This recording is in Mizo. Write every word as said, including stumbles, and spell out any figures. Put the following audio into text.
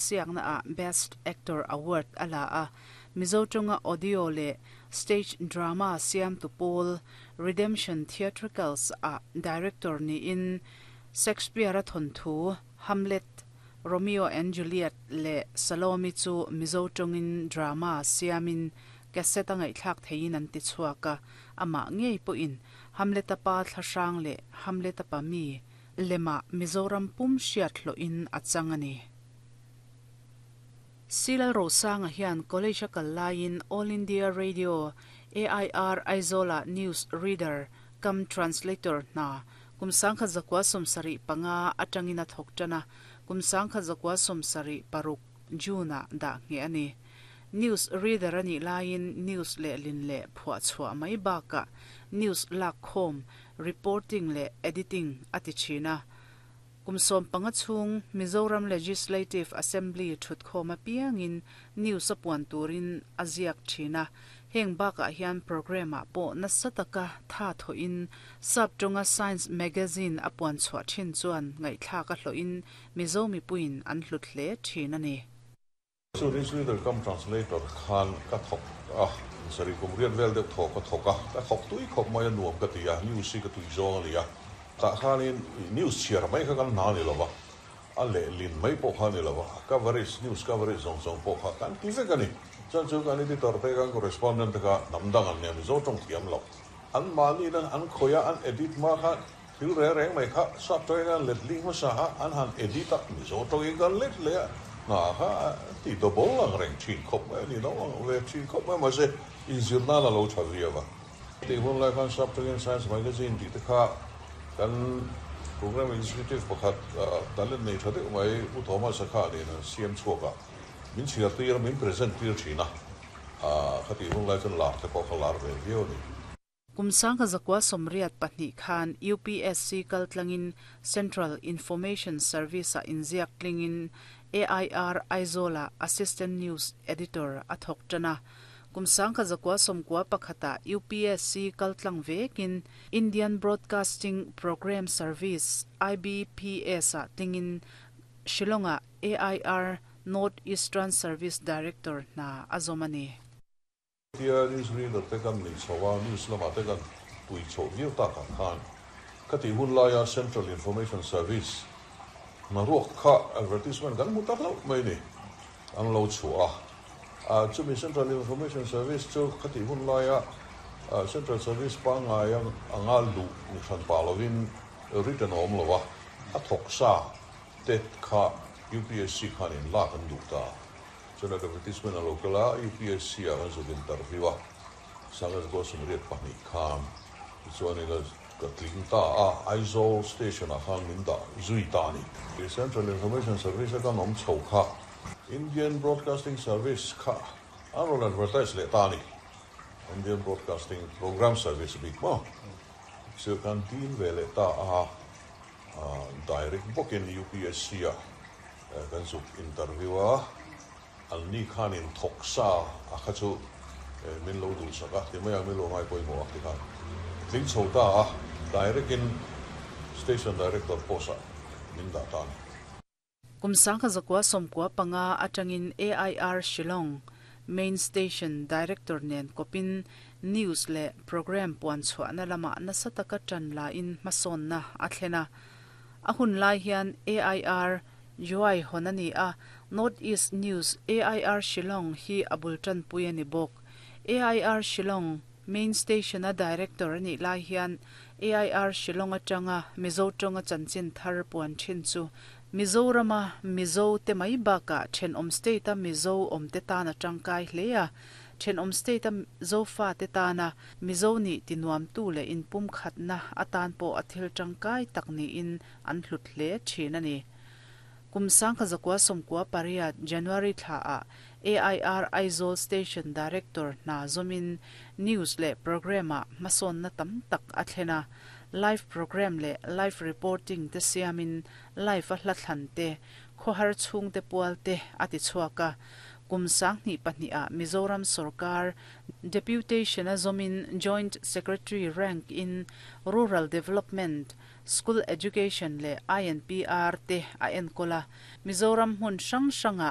Siakna a Best Actor Award a la a, Mizo tawnga audio leh stage drama siamtu pawl Redemption Theatricals a director niin Shakespeare-a thawnthu Hamlet, Romeo and Juliet leh Salome chu Mizo tawngin drama siamin cassette a ngaihthlak theihin an ti chhuak a, amah ngei pawhin Hamlet-a pa thlahrang leh Hamlet-a pa mi lemah Mizoram pum hriat hlawhin a chang a ni. Silal Rosanga hian college a kal laiin All India Radio A I R Aizawl-ah news reader cum translator hna kum sangkhat zakua sawmsarih panga atangin a thawk tan a, kum sangkhat zakua sawmsarih paruk June-ah dah ngheh a ni. News reader a nih laiin news lehlin leh phuah chhuah mai bakah news lak khawm, reporting leh editing a ti thin a. Kum sawm panga chhung Mizoram Legislative Assembly thutkhawm apiangin news a puan turin a ziak thin a. Heng bakah hian programme-ah pawh nasa taka tha thawhin sap tawnga Science Magazine a puan chhuah thin chuan ngaihthlak a hlawhin Mizo mipuiin an hlut hle thin a ni. Chu news reader cum translator khan ka thawk a, sarih kum riat vel deuh thaw ka thawk a, ka thawk tui khawp mai a, nuam ka ti a, news hi ka tui zawng a ni a. Tah khanin news chhiar mai kha kan hna ni lova, a lehlin mai pawh kha ni lova, coverage, news coverage zawng zawng pawh kha kan ti vek a ni. Chuan chu kan editor te, kan correspondent te kha hnam dang an nia, Mizo tawng thiam lo. An mahni nan an khawih a, an edit hma kha thil reng reng mai kha sap tawngin an let ling hmasa a, an han edit a, Mizo tawngin kan let leh a, hna kha ti double ang reng thin khawp mai a ni, no ang ve thin khawp mai, mahse inzir nan a lo tha viau a. Tih hun lai khan sap tawngin Science Magazine tih te kha kan program executive pakhat talent nei tha deuh mai U Thomas a kha nen an siam chhuak a, min chhiar tir a, min present tir thin a, khati hun lai chuan lar te pawh kha lar ve viau a ni. Kum sangkhat zakua sawmriat pahnih khan U P S C kaltlangin Central Information Service a inziak tlingin A I R Aizawl-ah Assistant News Editor a thawk tan a. Kum sangkhat zakua sawmkua pakhata U P S C kaltlang vekin Indian Broadcasting Programme Service I B P S a tlingin Shillong-ah A I R North Eastern Service Director hna a zawm a ni. Tia news reader te kan nei chho a, news lamah te kan tui chho viau takah khan khati hun laia Central Information Service hnaruak kha advertisement kan hmu tak lo mai ni, an lo chhuah a. Chumi Central Information Service chu khati hun laia Central Service pangngai anga luh ni hran pa lovin written awm lo a, a thawk sa te kha U P S C khan in lak an duh ta. Chuan advertisement a lo kal a, U P S C ah kan zuk interview a sangkhat zakua sawmriat pahnih khan. Tichuan ka tling ta a, Aizawl station ah khan min dah zui ta a ni. Central Information Service a kan awm chho kha Indian Broadcasting Service kha an rawn advertise leh ta a ni. Indian Broadcasting Programme Service bik maw chu kan dil ve leh ta a, direct bawkin U P S C ah kan zuk interview a, an ni khanin thawk sa a kha chu min lo duhsak a ti mai a, min lo ngai pawimawh a ti khan tling chho ta a, direct in station director post ah min dah ta a ni. Kum sangkhat zakua sawmkua panga atangin A I R Shillong Main Station Director nen kopin news leh program puan chhuahna lamah nasa taka tan la in hmasawnna a thlen a. A hun lai hian A I R Juai hawn a ni a, North East News A I R Shillong hi a bul tan pui a ni bawk. A I R Shillong Main Station a director a nih lai hian A I R Shillong atanga Mizo tawnga chanchin thar puan thin chu Mizorama Mizo te mai bakah thenawm state a Mizo awm te tan a tangkai hle a, thenawm state a Zofa te tana Mizo nih tinuam tu leh inpum khatna atan pawh a thil tangkai tak niin an hlut hle thin a ni. Kum sangkhat zakua sawmkua pariat January thla ah A I R Aizawl Station Director hna zawmin news leh program ah hmasawnna tam tak a thlen a, live program leh live reporting te siamin live a hla thlan te, khawhar chhung te pual te a ti chhuak a. Kum sang hnih pahnih a Mizoram Sorkar deputation a zomin Joint Secretary rank in Rural Development, School Education le I N P R te a enkola. Mizoram hmun hrang hranga